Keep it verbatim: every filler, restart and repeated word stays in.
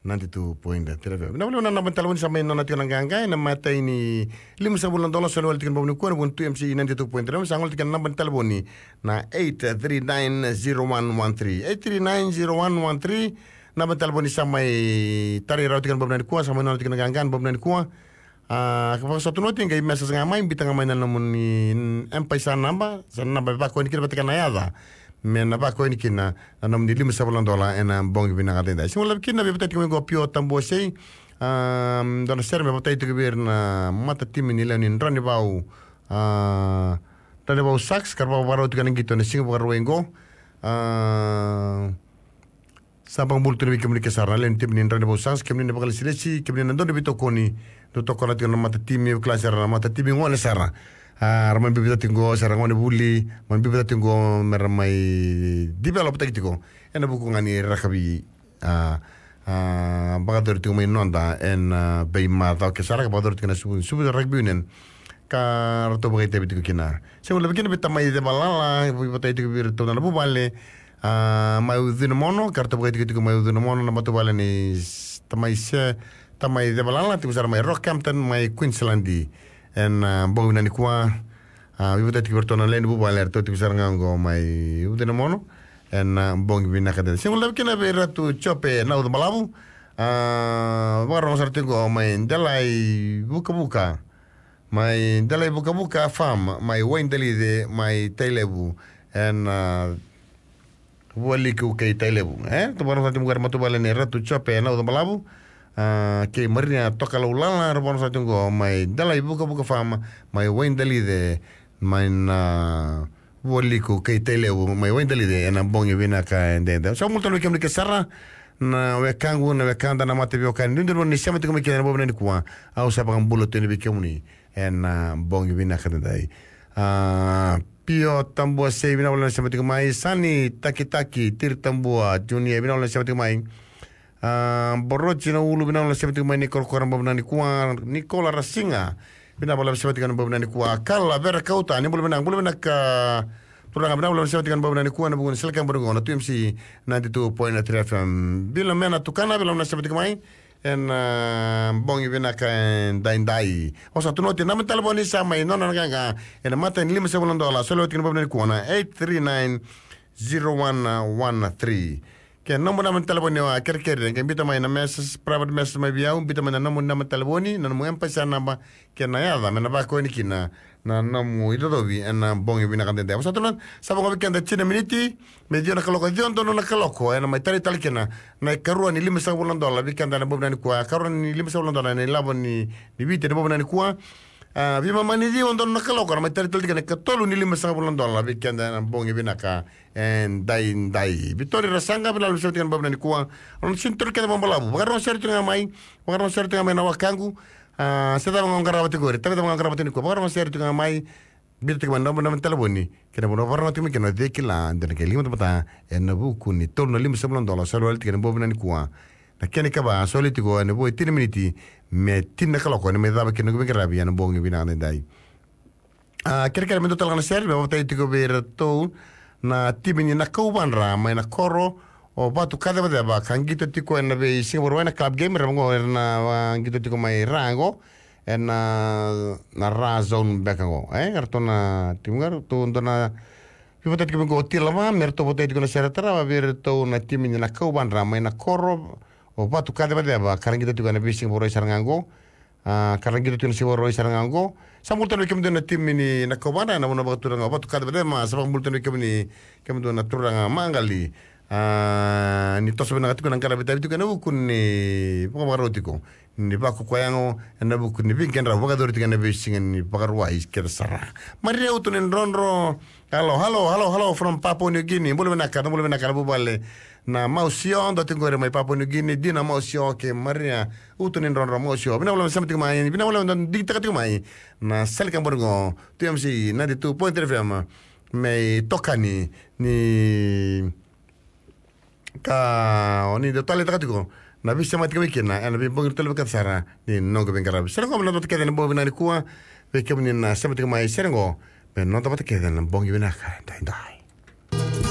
ninety-two point three F M. Na vuli na naba ni talevoni sa mai nona tiko na qaqa ena matai ni lima sagavulu na dola, soli wale tiko na bobu ni kua ena vuku ni two M C ninety-two point three F M. Sa gole tiko na naba ni talevoni na eight three nine zero one one three. Eight three nine zero one one three. Naba ni talevoni sa mai tarai rawa tiko na bobu ni kua, sa mai nona tiko na qaqa na bobu ni kua. A, ka vakasotu noti, qai message ga mai, biuta ga mai na nomuni M-PAiSA naba, sa na naba e vakoya ni kina vata kei na yaca. Me na vakoya ni kina na nomuni lima sagavulu na dola ena bogi vinaka daidai. Sega ni lavi kina, veivataki tiko mai qo Pio Tabuasei. A, dua na sere me vakatataki tiko vei ira na matatimi ni lewe ni Dranivau. A, Dranivau Sharks, ka ra vakarau tiko na qito ena siga Vakarauwai qo. A, Sa vakabula tu vei kemuni ke sara na lewe ni timi ni Dranivau Sharks, kemuni na vakalesilesi, kemuni na dodonu veitokoni, dou tokona tiko na matatimi, kila sara na matatimi gone sara. A, ra mai biuta tiko, sara gone vuli, mai biuta tiko, me ra mai develop taki tiko. Ena vuku ga ni rakavi, a, a, vakayacori tiko mai noda, ena, a, veimacawa ke sara, ka vakayacori tiko na Suva, Suva Rugby Union. Ka ratou vakaitavi tiko kina. Sega ni lavi kina vei tamai Cevalala, veivataki tiko vei iratou na vuvale, a, mai Ucunamono, ka ratou vakaitiko tiko mai Ucunamono, na matavuvale ni s-, tamai Se-, tamai Cevalala, tiko sara mai Rockhampton, mai Queensland. Ena, a, bogi vinaka nikua, a, veivataki tiko vei iratou na lewe ni vuvale, eratou tiko sara ga qo mai Ucunamono. Ena, a, bogi vinaka daidai. Sega ni lavi kina vei Ratu Jope Naucabalavu, a, vakarogo sara tiko qo mai Delai Vukavuka. Mai Delai Vukavuka Farm, mai Waidalice, mai Tailevu, ena, a, Vualiku kei Tailevu. E, ratou vakarogo sara tiko qo na matavuvale ni Ratu Jope Naucabalavu, a, kei Maria Tokalaulala, ratou vakarogo sara tiko qo mai Delai Vukavuka Farm, mai Waidalice, mai na, a, Vualiku kei Tailevu, mai Waidalice, ena bogi vinaka daidai. Sa vakabula tale vei kemuni ke sara, na wekaqu, na wekada, na mataveiwekani, dodonu ni sema tiko mai kina ena bogi vinaka nikua, au sa vakabula tu yani vei kemuni ena, a, bogi vinaka daidai. A, Pio Tabuasei, vinaka vakalevu na sema tiko mai, Sani Takitaki, Tiri Tabua, Junior, vinaka vakalevu na sema tiko mai. A, Boroji na Ulu, vinaka vakalevu na sema tiko mai, ni korokoro ena bogi vinaka nikua, Nikola Rasiga, vinaka vakalevu na sema tiko ena bogi vinaka nikua, Kala Vera Kauta, ni bula vinaka, bula vinaka, turaga, vinaka vakalevu na sema tiko ena bogi vinaka nikua, ena vuku ni Sele Kebori qo, na two M C ninety-two point three F M. Vilomena Tukana, vinaka vakalevu na sema tiko mai, ena, a, bogi vinaka daidai. O sa tu noti, naba ni talevoni sa mai nona na qaqa, ena matai ni lima sagavulu na dola, soli wale tiko ena bogi vinaka nikua na eight three nine zero one one three. Ke nomu naba ni talevoni, a, kerekere, ke biuta mai na message, private message mai vei au, biuta mai na nomu naba ni talevoni, na nomu M-PAiSA naba, kei na yaca, me na vakoya yani kina na nomu icocovi ena bogi vinaka daidai. Au sa tu noti, sa vo ga vei keda tini na miniti me ciwa na kaloko, ciwa donu na kaloko, ena mai tarai tale kina na ikarua ni lima sagavulu na dola vei keda ena bogi vinaka nikua, ikarua ni lima sagavulu na dola ena ilavo ni, ni Viti ena bogi vinaka nikua. A, veimama ni ciwa donu na kaloko, na mai tarai tale tiko na ikatolu ni lima sagavulu na dola vei keda ena bogi vinaka edaidai. Vitori Rasaqa, vinaka vakalevu na sema tiko ena bogi vinaka nikua. Rau na sini toro kece vakabalavu. Vakarorogo sere tiko ga mai, vakarorogo sere tiko ga mai na wekaqu. A, se cava ga o qarava tiko qori, tavi cava ga o qarava tiko nikua, vakarorogo sere tiko ga mai. Biuta tiko mai na nomu naba ni talevoni, kei na vanua o vakarorogo tiko mai kina, o cei kila, de na qai liga vata, ena vuku ni tolu na lima sagavulu na dola, soli wale tiko ena bogi vinaka nikua. Na kena ikava, soli tiko ena vo e tini na miniti me tini na kaloko, ena mai cava kina noqu veiqaravi ena bogi vinaka daidai. A, kerekere me dua tale ga na sere me vakatataki tiko vei iratou na timi ni Nakauvadra mai na koro o Vatukacevaceva, ka qito tiko ena veisiga Vakarauwai na club game, ra vaqo era na, a, qito tiko mai Ra qo, ena, na Ra zone beka qo. E, eratou na timi qo, eratou dua na veivataki tiko mai qo o Tilava, me ratou vakatataki tiko na sere tarava vei iratou na timi ni Nakauvadra mai na koro o Vatukacevaceva, ka ra qito tiko ena veisiga Vakarauwai sara ga qo. A, ka ra qito tiko na siga Vakarauwai sara ga qo. Sa bula tale vei kemudou na timi ni Nakauvadra ena vanua vakaturaga o Vatukacevaceva, sa vakabula tale vei kemuni, kemudou na turaga maqali. A, ni toso vinaka tiko na qaravi tavi tiko ena vuku ni vakavakarau tiko ni vakakoya qo, ena vuku ni veiqaravi vakayacori tiko ena veisiga ni Vakarauwai kece sara. Maria Utu ni Drodro. Hello, hello, hello, hello from Papua New Guinea. Bula vinaka, bula vinaka na vuvale. Na Mausio, dua tiko qori mai Papua New Guinea, Dina Mausio kei Maria Utu ni Drodro Mausio. Vinaka vakalevu na sema tiko mai, vinaka vakalevu na digitaka tiko mai na Sele Kebori qo, two M C ninety-two point three F M. Me itokani ni ka o ni dau taleitaka tiko na veisemati tiko mai kina ena veibogi tale vaka sara ni noqu veiqaravi. Sere qo me na dua kece ena bogi vinaka nikua vei kemuni na sema tiko mai, sere qo me noda vata kece ena bogi vinaka daidai.